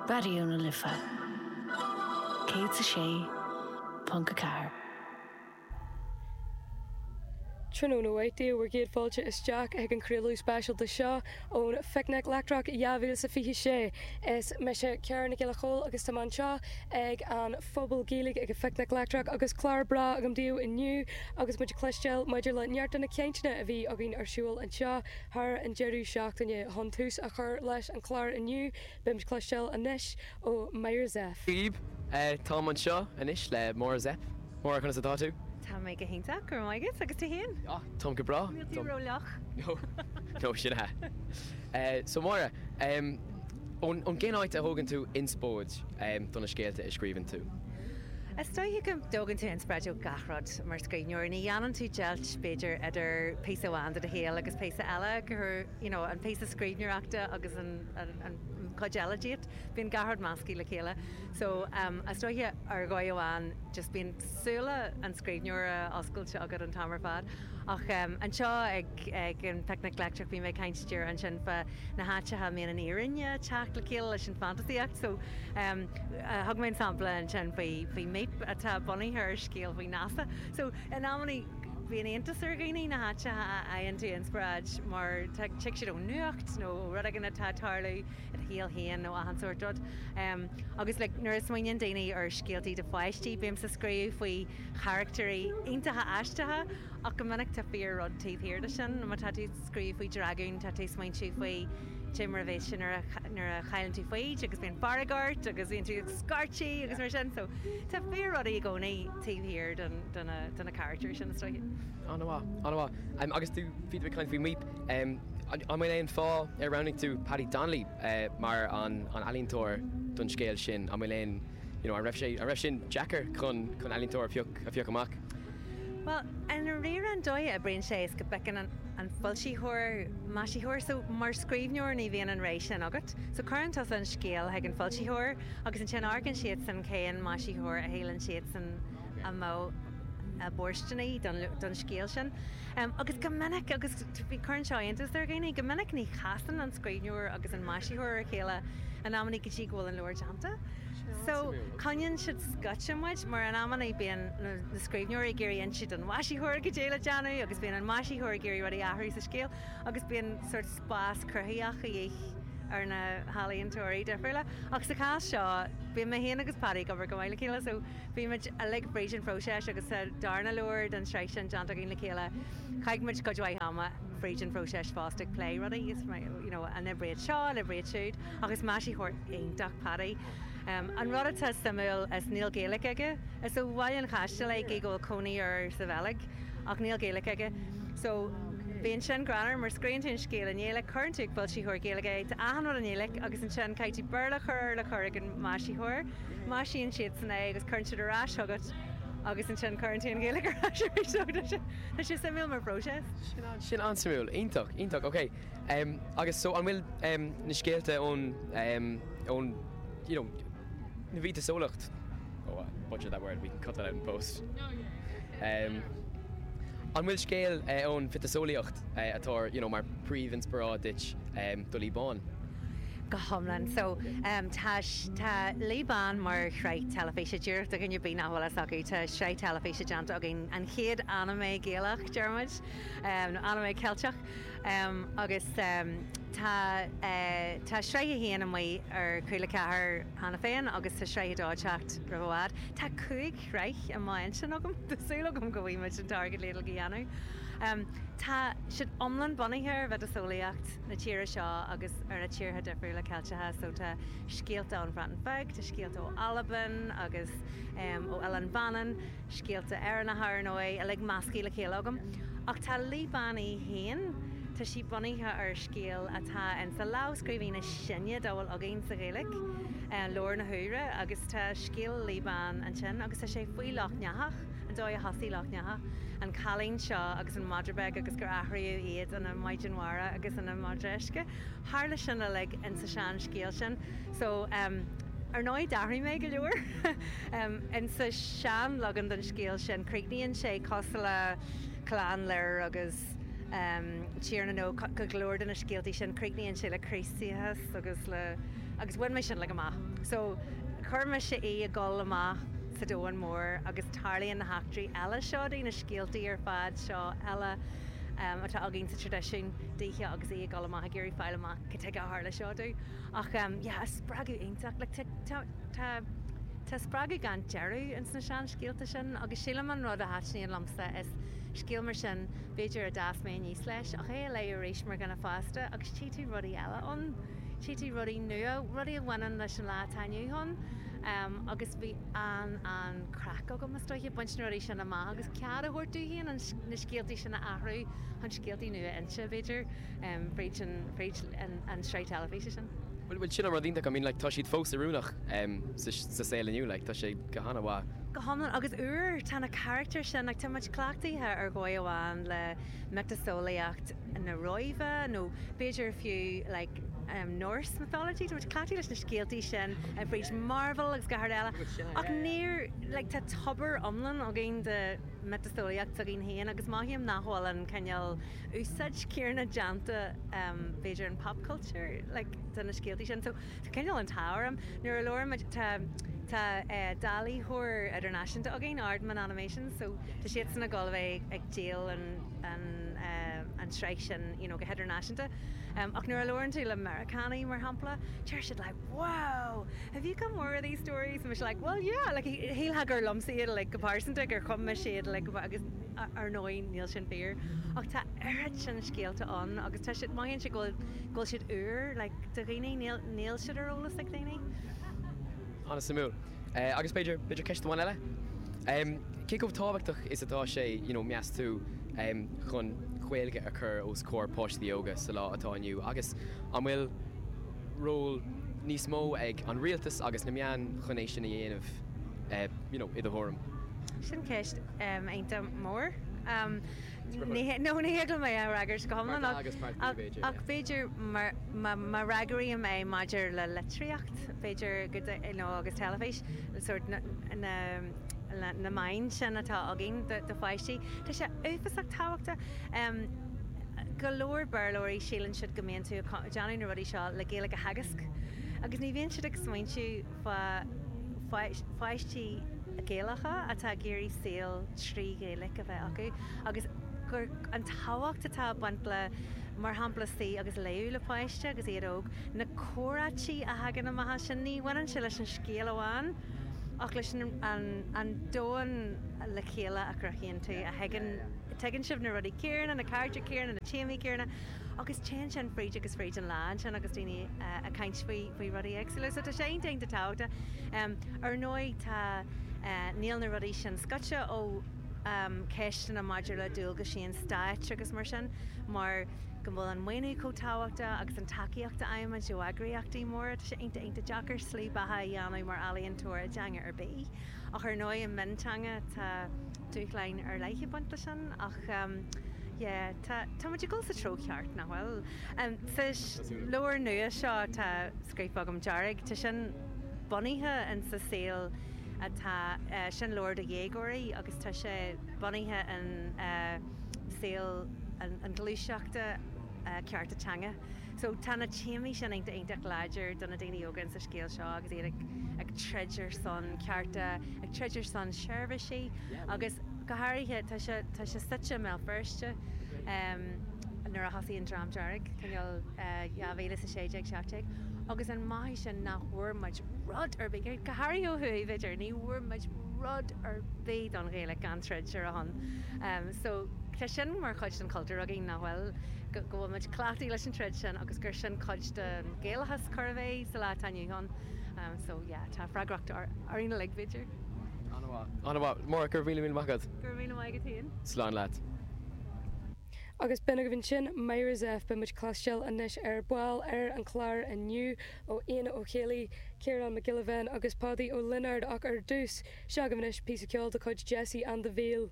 Raidió na Life 106.4. Tráthnóna mhaith daoibh, bhur gcéad fáilte isteach chuig an chraoladh speisialta seo ón Phicnic Leictreach 2026. Is mise Ciara Nic Giolla Chóill agus tá mé anseo ag an Phuball Gaeilge ag an Phicnic Leictreach agus clár breá agam daoibh inniu agus muid ag cloisteáil maidir le neart de na cainteanna a bhí againn ar siúl anseo thar an deireadh seachtaine. Chun tús a chur leis an chlár inniu, beimid ag cloisteáil anois ó Máire Zepf. Daoibh, táim anseo anois le Máire Zepf. Máire, conas atá tú? Tá mé go hiontach, go raibh maith agat. Agus tú féin? Ah, táim go breá. Níl tú ró-fhliuch? No, no, sin é. So Máire, ón gcén áit a thógann tú inspóid do na scéalta a scríobhann tú? Is dóiche go dtógann tú inspioráid ó gach rud mar scríbhneoir. Ní dhéanann tú deighilt, b'fhéidir, idir píosa amháin de do shaol agus píosa eile, go you know, an píosa scríbhneoireachta agus an an chuid eile díot. Bíonn gach rud measctha le chéile. So, is dóiche ar dhóigh amháin just bíonn súile an scríbhneora oscailte agat an t-am ar fad. Ach anseo ag ag an Phicnic Leictreach bhí mé ag caint díreach ansin fá na háiteacha a mbíonn an fhírinne ag teacht le chéile leis an fantasaíocht. So, thug mé an sampla ansin faoi faoi Míp atá bunaithe ar scéal faoi NASA. So, in amannaí bíonn iontas ar dhaoine na háiteacha a fhaigheann tú inspioráid mar tig siad ón nuacht nó ó rud éigin atá ag tarlú. i do shaol féin nó achan sórt rud. Agus like nuair a smaoiníonn daoine ar scéaltaí do pháistí, bímse ag scríobh faoi charactairí iontacha aisteacha ach go minic tá fíor rud taobh thiar de sin. Má tá tú ag scríobh faoi dragún tá tú ag smaointiú faoi cé mar a bheas sé nuair a nuair a chailleann tú foighid agus bíonn fearg ort agus bíonn tú ag scairtigh agus mar sin. So tá fíor rudaí i gcónaí taobh thiar den de na de na caractairí sin is dóiche. An-mhaith, an-mhaith. Agus tú, bhí tú ag caint faoi Míp. An bhfuil aon fáth ar roghnaigh tú Paddy Donnelly mar an ealaíontóir don scéal sin? An bhfuil aon, you know, an raibh sé, an raibh sin deacair chun chun ealaíontóir a phioc, a phiocadh amach? Bhuel, i ndáiríre an dóigh a oibríonn sé is go bpiocann an an foilsitheoir maisitheoir. So mar scríbhneoir ní bhíonn an rogha sin agat. So cuireann tusa an scéal chuig an foilsitheoir agus ansin amharcann siadsan cén maisitheoir a shíleann siadsan a mbeadh ab fhóirsteanaí don scéal sin. Agus go minic, agus cuireann seo iontas ar dhaoine, go minic ní chasann an scríbhneoir agus an maisitheoir ar a chéile in amannaí go dtí go bhfuil an leabhar déanta. So, coinníonn siad scoite muid, mar in amannaí bíonn na scríbhneoirí ag iarraidh inse don mhaisitheoir goidé le déanamh agus bíonn an maisitheoir ag iarraidh rudaí a athrú sa scéal agus bíonn sórt spás cruthaitheach a dhíth ar na healaíontóirí difriúla. Ach sa chás seo, bíonn mé féin agus Paddy ag obair go maith le chéile so Bhí muid uilig fríd an phróiseas agus sa darna leabhar den tsraith sin déanta againn le chéile, chaith muid cuid mhaith ama fríd an phróiseas fosta ag plé rudaí, is you know an oibreoidh seo, an oibreoidh siúd, ach is maisitheoir iontach Paddy. An rud atá suimiúil is níl Gaeilge aige. Is ó Bhaile an Chaistil é gidh go bhfuil cónaí air sa Bheilg ach níl Gaeilge aige. So bíonn sin greannmhar mar scríobhann tú an scéal i nGaeilge, cuireann tú ag foilsitheoir Gaeilge é, tá achan rud i nGaeilge agus ansin caithfidh tú Béarla a chur air le cur ag an maisitheoir. Maisíonn siadsan é agus cuireann siad ar ais chugat agus ansin cuireann tú an Ghaeilge ar ais arís. So tá sé, tá sé suimiúil mar phróiseas. Sin an, sin an-suimiúil. Iontach, iontach. Ok. Em, agus so an bhfuil, em, na scéalta ón, em, ón, you know, na mhiotaseolaíocht, oh I butchered that word, we can cut that out in post. Em, an bhfuil scéal, eh, ón mhiotaseolaíocht, eh, atá, you know, mar príomhinspioráid duit, em, do Laoi Bán? Go hiomlán. So, tá, tá Laoi Bán mar shraith teilifíse, díreach do dhuine ar bith nach bhfuil fhios acu, tá sraith teilifíse déanta againn, an chéad anime Gaelach, deir muid, nó anime Ceilteach, agus tá, tá sraith a haon amuigh ar Cúla 4 cheana féin agus tá sraith a dó ag teacht roimh i bhfad. Tá 5 shraith i m'intinn agam, tá súil agam go bhfaighidh muid an t-airgead le iad uilig a dhéanamh. Tá siad iomlán bunaithe ar mhiotaseolaíocht. na tíre seo agus ar na tíortha difriúla Ceilteacha so tá scéalta ón Bhreatain Bheag, tá scéalta ó Albain agus ó Oileán Mhanann, scéalta Éireannacha ar ndóigh, uilig measctha le chéile agam. Ach tá Laoi Bán í féin, tá sí bunaithe ar scéal atá in sa lámhscríbhinn is sine dá bhfuil againn sa Ghaeilge, Leabhar na hUidhre, agus tá scéal Laoi Bán ansin agus tá sé faoi Loch nEathach. an dóigh a thosaigh Loch nEathach, an cailín seo agus an madra beag agus gur athraíodh iad ina maighdean mhara agus ina madra uisce. Tharla sin uilig insa sean-scéal sin. So, em, ar ndóigh d'athraigh mé go leor. Em, insa sean-leagan den scéal sin críochnaíonn sé cosúil le Clann Lir agus, Tír na nÓg, go leor de na scéaltaí sin, críochnaíonn sé le Críostaíochas agus le, agus bhain mé sin like amach. So chuir mise í ag dul amach sa domhan mór agus tarlaíonn na heachtraí eile seo di, na scéaltaí ar fad seo eile atá againn sa traidisiún daoithe agus í ag dul amach ag iarraidh fáil amach cad tuige a tharla seo di. Ach yeah, spreagadh iontach, like tá, tá, tá, tá spreagadh gan deireadh ins na seanscéalta sin agus sílim an rud a thaitníonn liomsa is scéal mar sin, b'fhéidir a d'fhás mé aníos leis, ach é a léamh arís mar dhuine fásta agus tchí tú rudaí eile ann, tchí tú rudaí nua, rudaí a bhaineann leis an lá atá inniu ann. Agus bhí an-an-chraic agam, is dóiche, baint na rudaí sin amach agus cead a thabhairt domh féin na scéaltaí sin a athrú chun scéaltaí nua a inse, b'fhéidir, fríd an, fríd an tsraith teilifíse sin. Bhuel, sin an rud iontach, I mean, like, tá siad fós oiriúnach sa saol inniu, like, tá sé go han-mhaith. Go hiomlán, agus úr, tá na carachtair sin, like, tá muid cleachtaithe ar dhóigh amháin le miotaseolaíocht na Róimhe nó b'fhéidir fiú, like, Norse mythology, tá muid cleachtaithe leis na scéaltaí sin fríd Marvel agus gach rud eile, ach níor, like, tá tobar iomlán againn de miotaseolaíocht s'againn féin agus mothaím nach bhfuil an cineál úsáid céanna déanta b'fhéidir in pop culture like de na scéaltaí sin so tá cineál an t-ádh orm nuair a labhair muid tá tá dáilitheoir idirnáisiúnta againn Aardman Animations so tá siadsan ag dul a bheith ag díol an an an tsraith sin you know go hidirnáisiúnta ach nuair a labhrann tú le Meiriceánaigh mar shampla deir siad like wow have you got more of these stories and mise like well yeah like shílfeá gur liomsa iad like go pearsanta gur chum mise iad like agus Ar ndóigh, níl sin fíor, ach tá oiread sin scéalta ann agus tá siad, mothaíonn sé go bhfuil, go bhfuil siad úr, like, do dhaoine, níl, níl siad ar eolas ag daoine. An-suimiúil. Agus b'fhéidir, b'fhéidir ceist amháin eile? Cé chomh tábhachtach is atá sé, you know, meas tú, chun Gaeilge a chur os comhair páistí óga sa lá atá inniu agus an bhfuil ról níos mó ag an rialtas agus na meáin chun é sin a dhéanamh, you know, i do thuairim? Sin ceist iontach mór. No, ní thig liom é a fhreagairt go hiomlán ach b'fhéidir má fhreagraím é maidir le litríocht, b'fhéidir go nó agus teilifís, sórt na meáin sin atá againn do pháistí, tá sé uafásach tábhachtach. Go leor Béarlóirí síleann siad go mbíonn tú ag déanamh na rudaí seo le Gaeilge a theagasc agus ní bhíonn siad ag smaointiú fá pháistí Gaelacha atá ag iarraidh saol trí Ghaeilge a bheith acu agus gur an tábhacht atá ag baint le, mar shampla, suí agus léamh le páiste agus iad óg, na comhráití a thagann amach as sin, ní bhaineann sé leis an scéal amháin ach leis an domhan le chéile a chruthaíonn tú, a thuigeann, tuigeann sibh na rudaí céanna, na carachtair céanna, na téamaí céanna agus téann sin fríd agus fríd an lá ansin agus daoine ag caint faoi faoi rudaí éagsúla. So tá sé iontach iontach tábhachtach. Ar ndóigh tá, níl na rudaí sin scoite ó cheisteanna maidir le dualgaisí an stáit agus mar sin, mar go bhfuil an maoiniú chomh tábhachtach agus an tacaíocht a fhaighimid ó eagraíochtaí móra. Tá sé iontach iontach deacair slí beatha a dhéanamh mar ealaíontóir i dteanga ar bith. Ach ar ndóigh i mionteanga tá dúshláin ar leith ag baint leis sin ach yeah tá, tá muid ag dul sa treo ceart, nach bhfuil? Sa leabhar nua seo atá scríofa agam, Dearg, tá sin bunaithe in sa saol atá, sin leabhar do dhéagóirí agus tá sé bunaithe in saol an ghluaiseachta cearta teanga. So tá na téamaí sin iontach iontach láidir do na daoine óga in sa scéal seo agus iad ag ag troid ar son cearta, ag troid ar son seirbhísí agus go háirithe tá sé tá sé suite i mBéal Feirste nuair a thosaigh an Dream Dearg, cineál 2016, 17 agus an mothú sin nach bhfuair muid rud ar bith, go háirithe ó thuaidh b'fhéidir, ní bhfuair muid rud ar bith don Ghaeilge gan troid ar a shon. So tá sin mar chuid den chultúr againn nach bhfuil, go bhfuil muid cleachtaithe leis an troid sin agus gur sin cuid den Ghaelachas chóir a bheith sa lá atá inniu ann. So yeah, tá freagracht orainn uilig b'fhéidir. An-mhaith. An-mhaith. Máire, go raibh míle míle maith agat. Go raibh míle maith agat féin. Slán leat. Agus b'in agaibh ansin Myra Zepf, beidh muid ag cloisteáil anois ar ball ar an chlár inniu ó Éanna Ó Chéallaigh, Ciarán Mac Giolla Bhéin agus Pádaí Ó Lionáird ach ar dtús, seo agaibh anois píosa ceoil de chuid Jesse and the Veil.